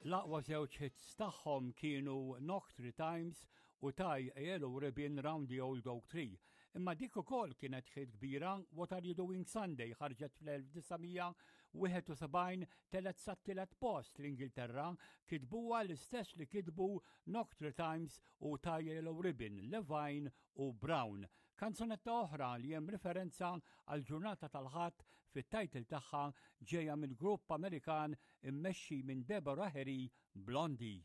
L-aqwa żewġ hits tagħhom kienu Knock Three Times u Tie a Yellow Ribbon Round the Old Oak Tree. Imma dik ukoll kienet hit kbira What Are You Doing Sunday ħarġet fl-1971 telgħet sat-tielet post l-Ingilterra kitbuha l-istess li kitbu Knock Three Times u Tie a Yellow Ribbon, Levine u Brown. Kanzunetta oħra li hemm riferenza għall-ġurnata tal-Ħadd fit-title tagħha ġejja mill-grupp Amerikan immexxi minn Deborah Harry, Blondie.